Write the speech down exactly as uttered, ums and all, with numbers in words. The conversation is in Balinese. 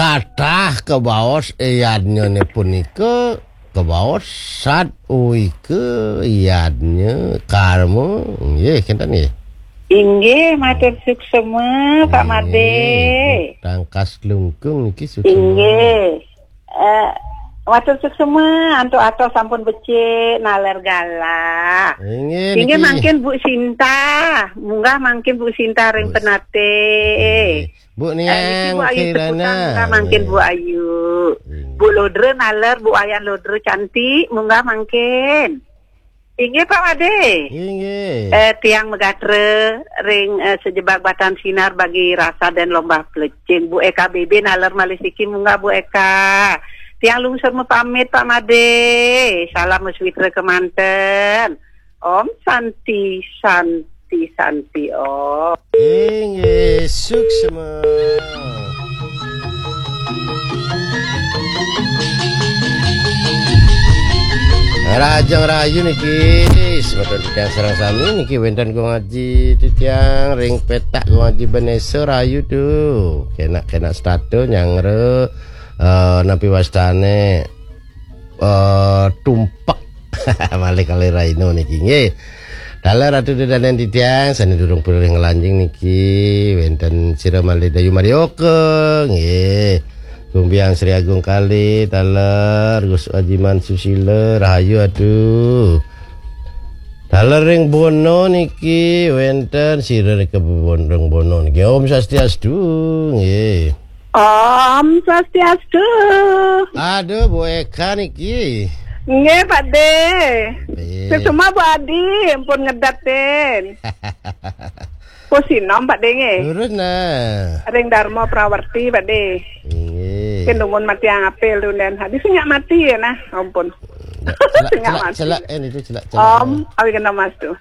Tatah kabaos éyannya punika kabaos sat uwika yadnya karma. Nggih, kinten nggih. Inggih, matur suksema, Pak Made. Tangkas klungkung niki suksema. Inggih. Eh, matur suksema, antuk atos sampun becik, naler galah. Inggih, inggih niki. Mangkin Bu Sinta, munggah mangkin Bu Sinta ring Bu S-, penate. Inggih. Bu Niang, eh, niki Bu Ayu Kirana. Seputan, munggah mangkin Bu Ayu. Inggih. Bu Lodra naler, Bu Wayan Lodra cantik, munggah mangkin. Inggih, Pak Made. Inggih. Eh, tiang megatra ring, eh, sejebak batan sinar bagi rasa dan lomba pelecing. Bu Eka B B naler malih siki, munggah Bu Eka. Tiang lungsur mapamit, Pak Made. Salam meswitra kemanten. Om Santi, Santi, Santi, Om. Inggih, suksema. Rahajeng rahayu niki, semeton titiang sareng sami niki wénten Gung Aji titiang ring petak Gung Aji Benesa rahayu tuh. Kenak-kenak setata nyanggra, eh, napi wastané, eh, tumpek. Malih kalih rahina niki nggih. Taler Ratu Ida Dané titiang sané durung purih nglanjing niki wénten sira malih Dayu Marioka nggih. Kumbiang Sri Agung Kali, taler Gus Ajiman Susila, rahayu aduh. Taler ring Bono niki wénten sira ring Bono niki. Om Swastiastu nggih. Om Swastiastu. Aduh, Bu Eka niki. Nggih, Pak De. Nggih. Suksema Bu Adi, ampun ngedatin. Pusinom, Pak De, nggih. Lurus, nah. Ring Dharma Prawerti, Pak De. Nggih. Ké numun mati apel tunden. Habis nyak mati ya, nah, ampun. Nyak, celak, nyak celak, mati. Celak, eh, niku celak, celak. Om, awi kena mas tuh.